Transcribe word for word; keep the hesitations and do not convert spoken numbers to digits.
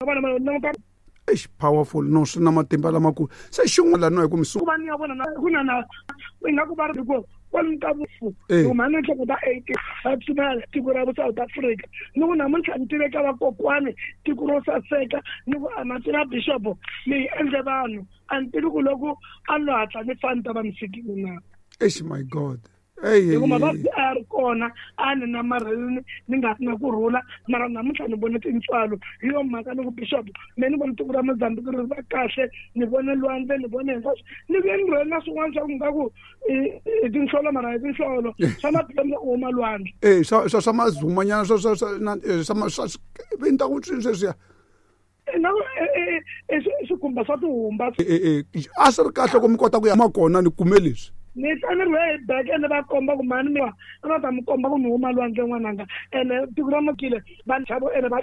Vona ma languta. Eish, powerful. No, swi na matimba lamakulu. Se xin'wana laniwa hi ku mi ku va ni ya vona na ku na na ingaku va ri ku kwalomu ka vufu. Eh. Huma ni nhloko ta eighty va pfumela tiko ra South Africa, ni ku namuntlha ni tive ka vakokwani tiko ro saseka, ni ku a ma tiva bishop ni yi endle vanhu a ni tivi ku loko a ni lo hatla ni fa ni ta va ni fikile na. Eish, my God. Hey, hi ku mavabyi a ya ri kona a ni namarhelini ni nga ri na kurhula, mara namuntlha ni vone tintswalo. Hi yo mhaka ni ku bishop me ni vone tiko ra Mozambique ri va kahle, ni vone lwandle, ni vone hinkwaswo, ni vuye ni rhwele na swin'wana swa ku nga ku i tinhlolo, mara hi tinhlolo swa maphemu ku huma lwandle. Eh, swa swa swa mazumanyana, swa swa swa na eh, swa ma- swa swi ta ku swi sweswiya. Na i swikhumba swa tihumba. Eh, eh, a swi ri kahle ku mi kota ku ya ma kona ni kume leswi. Ni ta ni rhwe hi beke ene va komba ku mhani mi a va ta mi komba ku ni huma lwandle n'wananga, ene tiko ra makile va nchavo ene va.